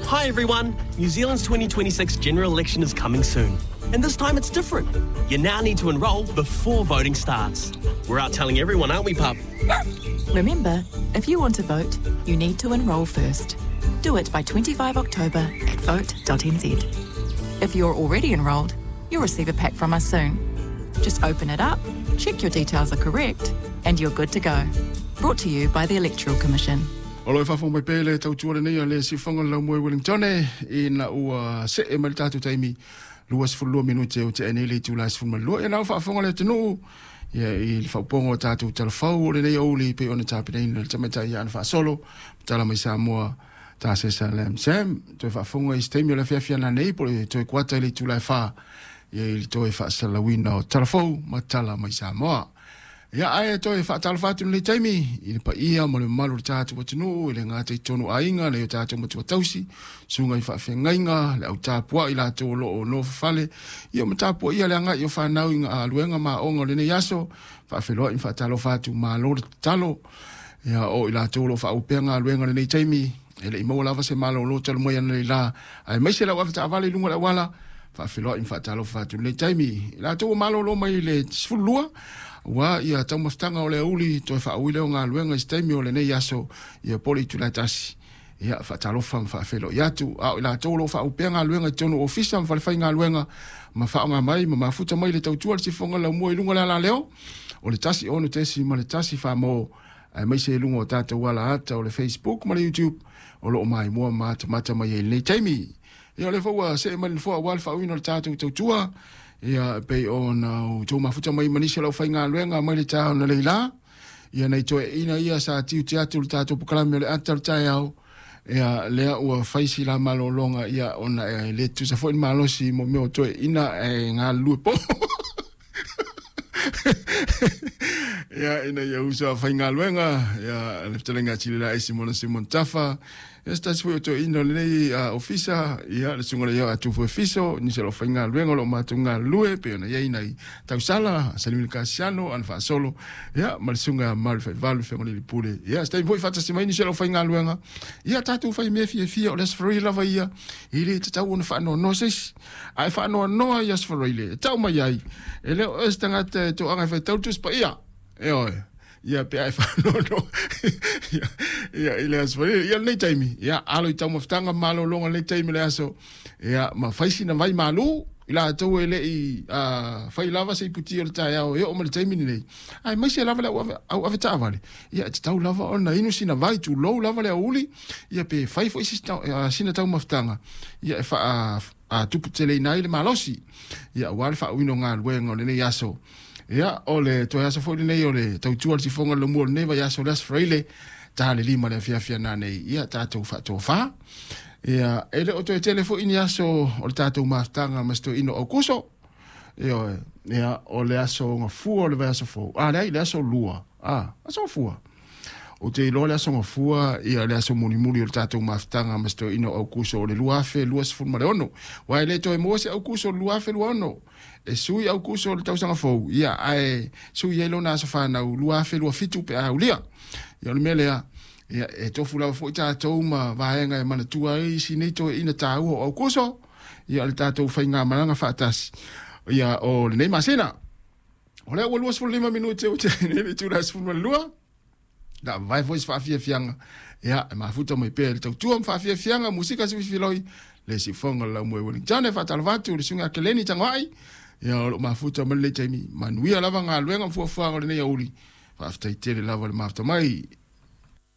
Hi everyone! New Zealand's 2026 general election is coming soon. And this time it's different. You now need to enrol before voting starts. We're out telling everyone, aren't we, pup? Remember, if you want to vote, you need to enrol first. Do it by 25 October at vote.nz. If you're already enrolled, you'll receive a pack from us soon. Just open it up, check your details are correct, and you're good to go. Brought to you by the Electoral Commission. O lo e faafofoga mai pea i le tautua lenei a le Siufoga le Laumua i Wellington ina ua see mai le tatou taimi 22 minute o tea nei le itula e 12. Ia na ua faafofoga le atunuu ia i le faaupoga o tatou talafau o lenei aoauli e pei ona tapenaina e le tamaitai ia Ana Faasolo, tala mai Samoa Tasesa Lam Sam. Toe faafofoga i se taimi o le afiafi ana nei po o le toe kuata i le itula e 4 ia i le toe faasalalauina o talafou ma tala mai Samoa. Ia, ae toe faatalofa atu i lenei taimi i le paia ma le mamalu o le tatou atunuu, e le gata i totonu o aiga, nai o tatou matua tausi, susuga i faafeagaiga, le au tapuai i latou o lo o nofofale, ia ma tapuaia le agai o fanau i galuega ma aoga o lenei aso. Faafeiloai ma faatalofa atu, malo le tatalo. Ia, o i latou o lo o faaauau pea galuega i lenei taimi, e le i maua lava se malolo talu mai analeila, aemaise lau avetaavale i luga o le auala. Faafeiloai ma faatalofa atu i lenei taimi. I latou ua malolo mai le 12, ua ia taumafataga o le aoauli toe faaui lea o galuega i se taimi o lenei aso, ia po o le itula e 1. Ia, faatalofa ma faafeiloai atu. A o i latou o lo o faauu pea galuega i totonu o ofisa ma falefaigaluega ma faaaoga mai ma mafuta mai le tautua a le sifoga laumua i luga o le alaleo o le 1 6.1 faamo, aemaise i luga o tatou alaata o le Facebook ma le YouTube o lo o maimoa ma matamata mai ai i lenei taimi. Ia, o lea foi ua see mai le nofoa aua le faauiina o le tatou tautua, ia pei ona outou mafuta mai ma nisi o le aufaigaluega mai le taeao analeila. Ia nai toeaiina ia sa tiute atu le tatou polokalame o le ata o le taeao, ia lea ua fai si la malologa, ia ona e le tutusa foi le malosi mo mea o toeaiina e galulue po. Ia ina ia uso a faigaluega, ia le fetalaiga a Tilila Esi Mona Simon Tafa, ia se tasi foi o toeaiina o lenei ofisa, ia le susuga le ia Atufu Efiso, nisi o le aufaigaluega o lo o matou galulue pei ona i ai nai Tausala, Salimini Kasiano, Ana Faasolo, ia ma le susuga Mari Faivalu Fegalili Pule. Ia se taimi foi faatasi mai nisi o le aufaigaluega, ia tatou fai mea fiafia o le Aso Faraile lava ia, e le tatau ona faanoanoa se isi. Ae faanoanoa i Aso Faraile e tau mai ai, e le o oe se tagata e toaga e faitau le Tusi Paia. E oe, ia pe a e faanoanoa ia, ia, i le Aso Faraile. Ia lenei taimi, ia alo i taumafataga ma malologa lenei taimi o le aso, ia ma fai sina vai malu i latou e le i fai lava se iputi o le taeao e oo mai le taimi lenei. Aemaise lava le au avetaavale, ia e tatau lava ona inu sina vai, tulou lava le aoauli, ia pe fai foi sina taumafataga, ia e faa tuputeleina ai le malosi, ia aua le faauiina o galuega o lenei aso. Ia, o le toe aso foi lenei o le tautua le sifoga o le laumua o lenei vaiaso, o le Aso Faraile, ta le 5 le afiafi ananei, ia tatou faatofa. Ia, e le o toe tele foi ni aso o le tatou mafutaga ma se toeaina o Aukuso. Ioe, ia, o le aso gafua o le vaiaso fou. A, leai, le aso lua. A, aso gafua. Ou te iloa le aso gafua, ia le aso mulimuli o le tatou mafutaga ma se toeaina o Aukuso o le 2026. Aua e le toe maua se Aukuso o le 2026. E sui Aukuso o le tausaga fou, ia, ae sui ai lona aso fanau 2027 pe a aulia. Ia, o le mea lea, ia, e tofu lava foi tatou ma vaega e manatua ai isi nei toeaina taua o Aukuso, ia o le tatou faigamalaga faatasi, ia, o lenei masina. O lea ua 25 minute ua tea nei le itula e 12. Na vae foi se faafiafiaga, ia, e mafuta mai pea i le tautua ma faafiafiaga, musika siuifiloi, le siufoga o le laumua i Wellington. E faatalofa atu i le susuga Keleni Tagoai, ia, o lo o mafuta mai lenei taimi. Manuia lava galuega ma fuafuaga o lenei aoauli. Faafetai tele lava le mafuta mai.